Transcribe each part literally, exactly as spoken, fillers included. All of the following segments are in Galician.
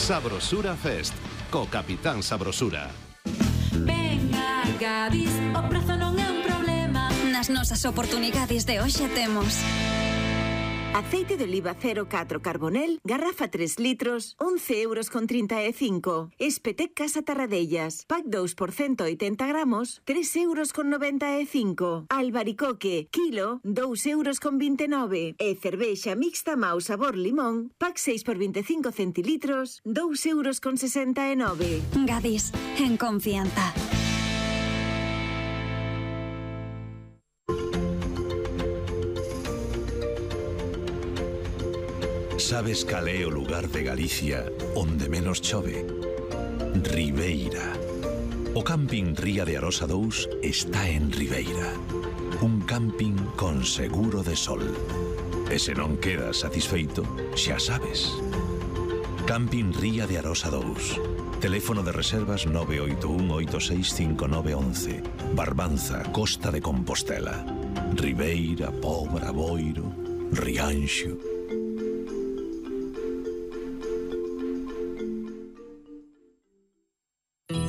Sabrosura Fest, co Capitán Sabrosura. Venga, Gadis, o prezo non é un problema. Nas nosas oportunidades de hoxe temos aceite de oliva cero catro Carbonel, garrafa tres litros, once euros con trinta e cinco. Espetec Casa Tarradellas, pack dous por ciento oitenta gramos, tres euros con noventa e cinco. Albaricoque, kilo, dous euros con vinte e nove. E cervexa mixta Mau sabor limón, pack seis por veinticinco centilitros, dous euros con sesenta e nove. Gadis, en confianza. Sabes cal é o lugar de Galicia onde menos chove? Ribeira. O camping Ría de Arosa dous está en Ribeira. Un camping con seguro de sol. E se non quedas satisfeito, xa sabes. Camping Ría de Arosa dous. Teléfono de reservas nove oito un oito seis cinco nove once. Barbanza, Costa de Compostela. Ribeira, Pobra, Boiro, Rianxo.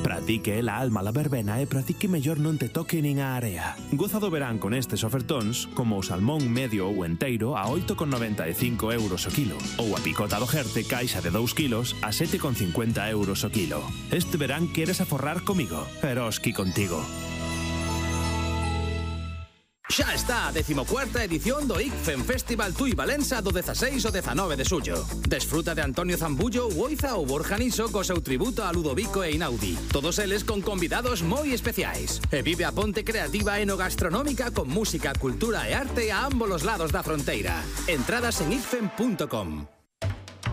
Pratique la alma la verbena e pratique mellor non te toque nin a area. Goza do verán con estes ofertóns como o salmón medio ou enteiro a oito con noventa e cinco euros o kilo ou a picota do Jerte caixa de dous kilos a sete con cincuenta euros o kilo. Este verán queres aforrar comigo, Eroski contigo. Xa está a decimocuarta edición do I C F E M Festival Tui Valença do dezaseis ao dezanove de xullo. Desfruta de Antonio Zambullo, Uoiza ou Borja Niso co seu tributo a Ludovico e Inaudi. Todos eles con convidados moi especiais. E vive a ponte creativa enogastronómica con música, cultura e arte a ambos os lados da fronteira. Entradas en i c f e m punto com.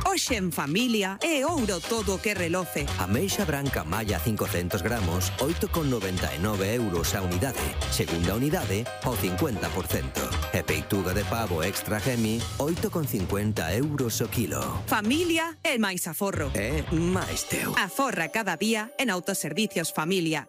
Hoxe en familia é ouro todo o que reloce. Ameixa branca malla cincocentos gramos, oito con noventa e nove euros a unidade. Segunda unidade, ao cincuenta por cento. E peituga de pavo extra gemi, oito con cincuenta euros o kilo. Familia é máis aforro. É máis teu. Aforra cada día en Autoservicios Familia.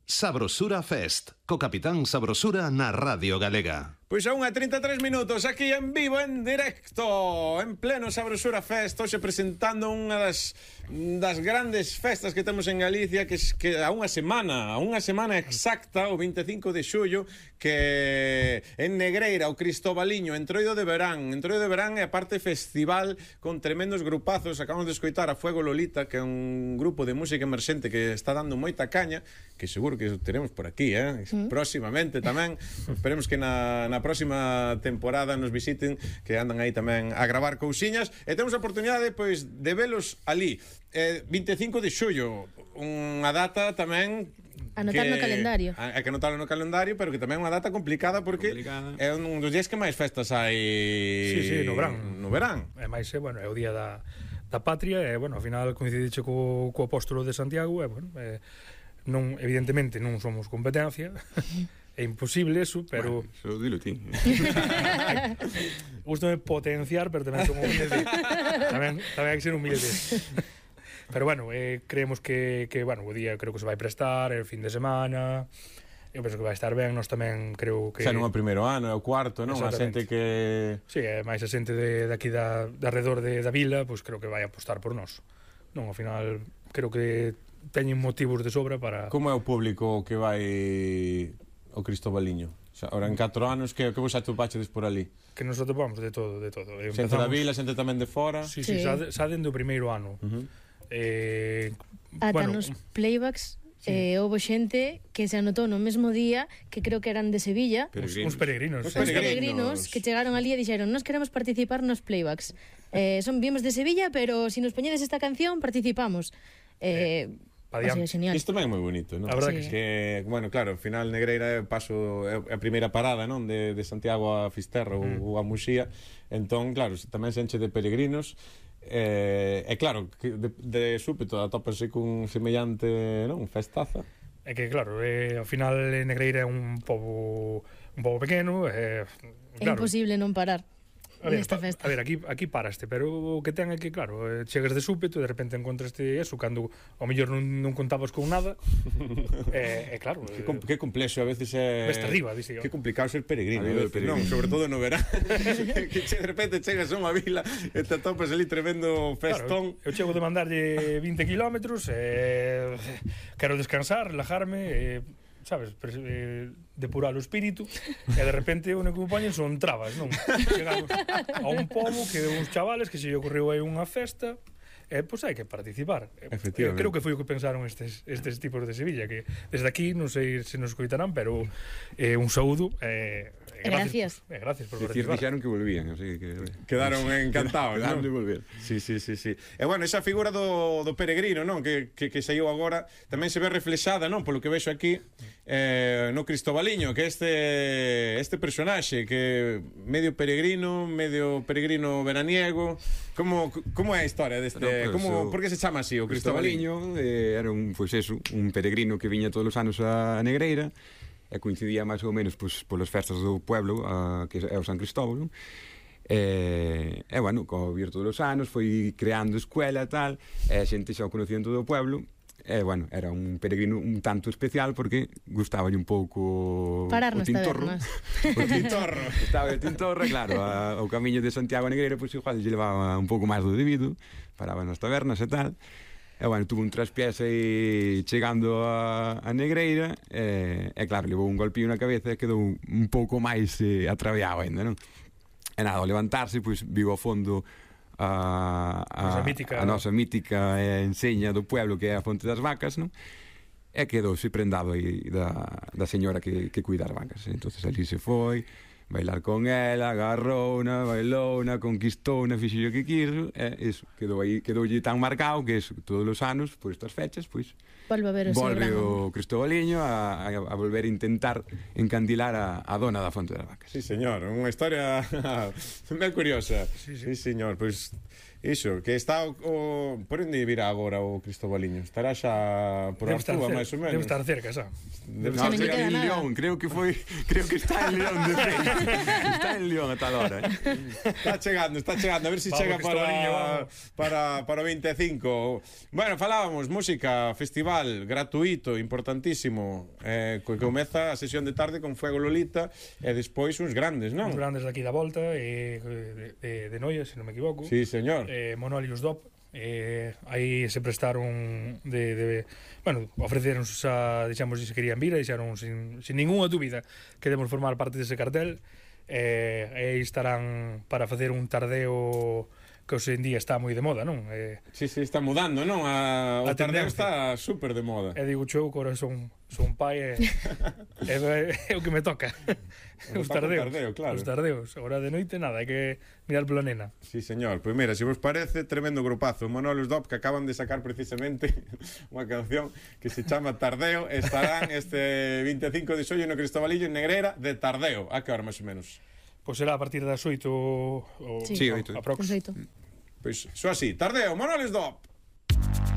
Sabrosura Fest, co Capitán Sabrosura na Radio Galega. Pois a unha trinta e tres minutos, aquí en vivo, en directo, en pleno Sabrosura Fest, hoxe presentando unha das das grandes festas que temos en Galicia, que, que a unha semana, a unha semana exacta, o vinte e cinco de xullo, que en Negreira, o Cristobaliño, Entroido de Verán, Entroido de Verán é a parte festival con tremendos grupazos. Acabamos de escoitar a Fuego Lolita, que é un grupo de música emerxente que está dando moita caña, que seguro que teremos por aquí, eh? Mm. Próximamente tamén, esperemos que na, na próxima temporada nos visiten, que andan aí tamén a gravar cousiñas, e temos a oportunidade pois de velos ali. Eh, vinte e cinco de xullo, unha data tamén anotar que, no calendario. Hai que anotarlo no calendario, pero que tamén é unha data complicada porque complicada. É un dos días que máis festas hai. Sí, sí, no verán. No verán. É máis, é, bueno, é o día da, da patria, e, bueno, ao final coincidiche co, co apóstolo de Santiago, e, bueno, é, non, evidentemente non somos competencia. É imposible eso, pero... Bueno, eso dilo ti. Gústame potenciar, pero tamén son humilde. tamén, tamén hai que ser humilde. Pero bueno, eh, creemos que, que bueno, o día creo que se vai prestar, é o fin de semana, eu penso que vai estar ben, nós tamén creo que... Xa non é o primeiro ano, é o cuarto, non? A xente que... Sí, é máis a xente de, de aquí da, de alrededor de, da vila, pois pues creo que vai apostar por nós. Non, ao final, creo que teñen motivos de sobra para... Como é o público que vai ao Cristobaliño? Xa, ahora en catro anos, que, que vos atopachedes por ali? Que nos atopamos de todo, de todo. Xente da vila, xente tamén de fora? Sí, sí, sí. Xa, xa dende o primeiro ano. Uh -huh. Eh, Ata bueno, nos playbacks sí. eh, houve xente que se anotou no mesmo día, que creo que eran de Sevilla, peregrinos. Uns peregrinos, uns peregrinos, peregrinos que chegaron ali e dixeron: "Nos queremos participar nos playbacks. Eh, son vimos de Sevilla, pero si nos poñedes esta canción participamos." Eh, eh O sea, isto tamén é moi bonito, non? A verdade sí. que, que, bueno, claro, ao final Negreira é o paso, é a primeira parada, non? De, de Santiago a Fisterra mm. ou a Muxía. Entón, claro, tamén se enche de peregrinos. E, eh, claro, que de, de súpeto atópase cun semellante, non? Festaza. É que, claro, eh, ao final Negreira é un pobo un pobo pequeno, eh, claro, é imposible non parar. A ver, nesta pa- festa. a ver, aquí, aquí paraste, pero o que ten é que, claro, eh, chegas de súpeto e de repente encontraste eso, cando ao mellor non, non contabas con nada, e, eh, eh, claro... Que, com, que complexo a veces é... Veste arriba, dixe eu. Que complicado ser peregrino, A a ver, veces, non? peregrino. Sobre todo no verán. que che, de repente chegas a unha vila e te atopas ali tremendo festón. Claro, eu chego de mandarlle vinte kilómetros, e quero descansar, relajarme, e, sabes, pres, eh, depurar o espírito, e de repente o único que me poñen son trabas, non? Chegamos a un pobo que de uns chavales que se lle ocorreu aí unha festa, e, pois hai que participar. Efectivamente. Eh, creo que foi o que pensaron estes, estes tipos de Sevilla, que desde aquí, non sei se nos escoitarán, pero eh, un saúdo, eh, E gracias. Eh, gracias por Dicir, participar. dixeron que volvían, así que... Quedaron encantados, Quedaron non? de volver. Sí, sí, sí, sí. E bueno, esa figura do, do peregrino, non? Que, que, que saiu agora tamén se ve reflexada, non? Polo que vexo aquí eh, no Cristóbaliño, que este este personaxe que medio peregrino, medio peregrino veraniego. Como como é a historia deste, No, pues, como o por que se chama así o Cristóbaliño? Cristóbaliño eh, era un, pois eso, un peregrino que viña todos os anos a Negreira e coincidía máis ou menos pois, polas festas do pueblo, a, que é o San Cristóbalo. E, e bueno, co vir todos os anos foi creando escuela e tal, e a xente xa o conocía en todo o pueblo. E, bueno, era un peregrino un tanto especial porque gustaballe un pouco Parar o nas tintorro. tabernas. O tintorro. Gustaba o tintorro, claro, a, o camiño de Santiago a Negreira, pois igual lle levaba un pouco máis do debido, paraba nas tabernas e tal. E, bueno, tuvo un traspiés aí chegando a, a Negreira e, e, claro, levou un golpillo na cabeza e quedou un pouco máis eh, atraviado ainda, non? E nada, ao levantarse, pois, viu ao fondo a, a, Nosa mítica, a nosa mítica eh, enseña do pueblo, que é a Fonte das Vacas, non? E quedouse prendado aí da, da señora que, que cuida as vacas. Entonces ali se foi, bailar con ela, agarrouna, bailouna, conquistouna, fixo o que quiso, e iso, quedou aí, quedoulle tan marcado que eso, todos os anos, por estas fechas, pois, Volve a ver o seu volve gran... o Cristóbaliño a, a, a volver a intentar encandilar a, a dona da Fonte das Vacas. Sí, señor, unha historia ben curiosa. Sí, sí. Sí, señor, pois iso, que está o, o por onde virá agora o Cristóbaliño? Estará xa por Debe estar Artúa, cer- máis ou menos. Debe estar cerca, xa. Debe No, non lle chega queda en nada. León, creo que foi, creo que está en León de feito. Está en León a tal hora. Eh? Está chegando, está chegando, a ver se si Vamos, chega Cristóbaliño, para, vamos. para, para o vinte e cinco. Bueno, falábamos, música, festival gratuito, importantísimo, eh, que comeza a sesión de tarde con Fuego Lolita e despois uns grandes, non? Os grandes daqui da volta, e, de, de, de Noia, se non me equivoco. Sí, señor. Eh, Monolius Dop. Eh, aí se prestaron de, de bueno, ofreceron a, dixamos, se querían vir, e dixeron sin, sin ninguna dúbida que debemos formar parte dese cartel. Eh, e aí estarán para facer un tardeo que hoxe en día está moi de moda, non? Eh, Sí, sí, está mudando, non? A, o A tardeo tendencia. está súper de moda. e digo eu que ahora son, son pai e, e é o que me toca. O Os Paco tardeos, Tardeo, claro. os tardeos. Agora de noite nada, hai que mirar pola nena. Sí, señor. Pois mira, se vos parece, tremendo grupazo. Monolius Dop, que acaban de sacar precisamente unha canción que se chama Tardeo. Estarán este vinte e cinco de xollo no Cristóbaliño en Negreira de Tardeo. A que hora, máis ou menos? Pois será a partir das oito o, Sí. Sí, o- oito. aprox. Perfecto. Pois, só así. Tardeo, Monolius Dop.